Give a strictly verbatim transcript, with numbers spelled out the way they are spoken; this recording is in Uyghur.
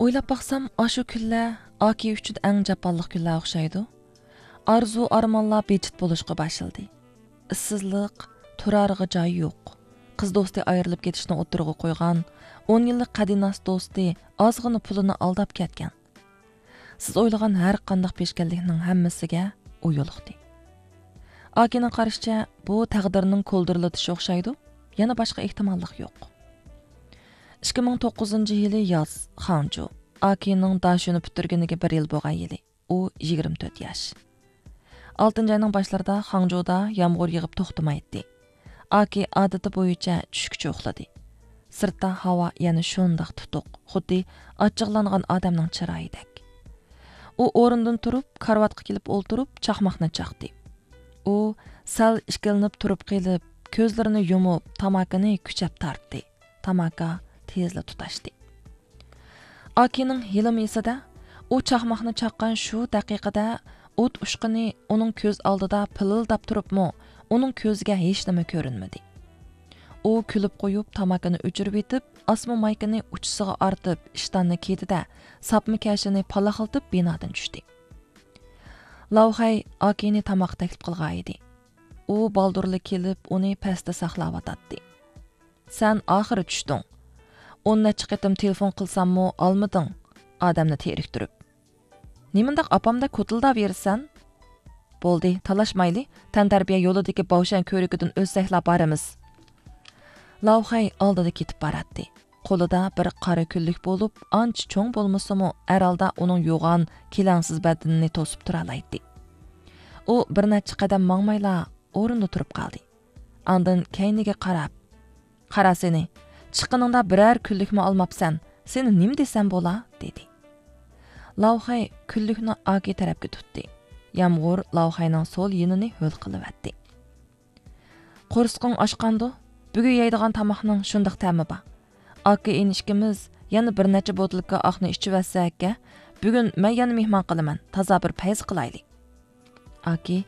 ئويلاپ باقسام، ئاشۇ كۈنلەر ئاكى ئۈچۈن ئەڭ جاپالىق كۈنلەر ئوخشايدۇ. ئارزۇ-ئارمانلار بىجىت بولۇشقا باشلىدى. ئىشسىزلىق، تۇرارغا جاي يوق. قىز دوستى ئايرىلىپ كېتىشنى ئوتتۇرىغا قويغان، ئون يىللىق قەدىناس دوستى ئازغىنا پۇلىنى ئالداپ كەتكەن. سىز ئويلىغان ھەر قانداق پېشكەللىكنىڭ ھەممىسىگە ئۇ يولۇقتى. ئاكىنىڭ قارىشىچە، بۇ تەقدىرنىڭ كولدۇرلىتىشى ئوخشايدۇ، يەنە باشقا ئېھتىماللىق يوق. ئىككى مىڭ توققۇزىنچى يىلى ياز، خاڭجۇ. ئاكىنىڭ داشۆنى پۈتتۈرگىنىگە بىر يىل بولغان يىلى. ئۇ يىگىرمە تۆت ياش. ئالتىنچى ئاينىڭ باشلىرىدا خاڭجۇدا يامغۇر يېغىپ توختىمايتتى. ئاكى ئادىتى بويىچە چۈشكىچە ئۇخلىدى. سىرتتا ھاۋا يەنە شۇنداق تۇتۇق، خۇددى ئاچچىقلانغان ئادەمنىڭ چىرايىدەك. ئۇ ئورنىدىن تۇرۇپ، كارىۋاتقا كېلىپ ئولتۇرۇپ، چاقماقنى چاقتى. ئۇ سەل ئىككىلىنىپ تۇرۇپ قېلىپ، كۆزلىرىنى يۇمۇپ، تاماكىنى كۈچەپ تارتتى. تاماكا تېزلا تۇتاشتى. ئاكىنىڭ ھېلىمۇ ئېسىدە، ئۇ چاقماقنى چاققان شۇ دەقىقىدە ئوت ئۇچقۇنى ئۇنىڭ كۆز ئالدىدا پىلىلداپ تۇرۇپمۇ، ئۇنىڭ كۆزىگە ھېچنېمە كۆرۈنمىدى. ئۇ كۈلۈپ قويۇپ، تاماكىنى ئۆچۈرۈۋېتىپ، ئاسما مايكىنى ئۇچىسىغا ئارتىپ، ئىشتاننى كىيدى-دە، ساپما كەشىنى پالاقلىتىپ بىنادىن چۈشتى. لاۋخەي ئاكىنى تاماققا تەكلىپ قىلغانىدى. ئۇ بالدۇرلا كېلىپ، ئۇنى پەستە ساقلاۋاتاتتى. سەن ئاخىرى چۈشتۈڭ. ئون نەچچە قېتىم تېلېفون قىلساممۇ ئالمىدىڭ، ئادەمنى تېرىكتۈرۈپ. نېمانداق ئاپامدەك كوتۇلداۋېرىسەن؟ بولدى، تالاشمايلى، تەنتەربىيە يولىدىكى باۋشەن كۆۋرۈكىدىن ئۆتسەكلا بارىمىز. لاۋخەي ئالدىدا كېتىپ باراتتى. قولىدا بىر قارا كۈنلۈك بولۇپ، ئانچە چوڭ بولمىسىمۇ، ھەر ھالدا ئۇنىڭ يوغان، كېلەڭسىز بەدىنىنى توسۇپ تۇرالايتتى. ئۇ بىر نەچچە قەدەم ماڭمايلا ئورنىدا تۇرۇپ قالدى. ئاندىن كەينىگە قاراپ، قارا سېنى، چىققىنىڭدا بىرەر كۈنلۈكمۇ ئالماپسەن، سېنى نېمە دېسەم بولا؟ دېدى. لاۋخەي كۈنلۈكنى ئاكى تەرەپكە تۇتتى. يامغۇر لاۋخەينىڭ سول يېنىنى ھۆل قىلىۋەتتى. قورسىقىڭ ئاچقاندۇ؟ بۈگۈن يەيدىغان تاماقنىڭ شۇنداق تەمى بار. ئاكا ئىنى ئىككىمىز يەنە بىر نەچچە بوتۇلكا ئاقنى ئىچىۋەتسەككە، بۈگۈن مەن يەنە مېھمان قىلىمەن، تازا بىر پەيز قىلايلى. ئاكى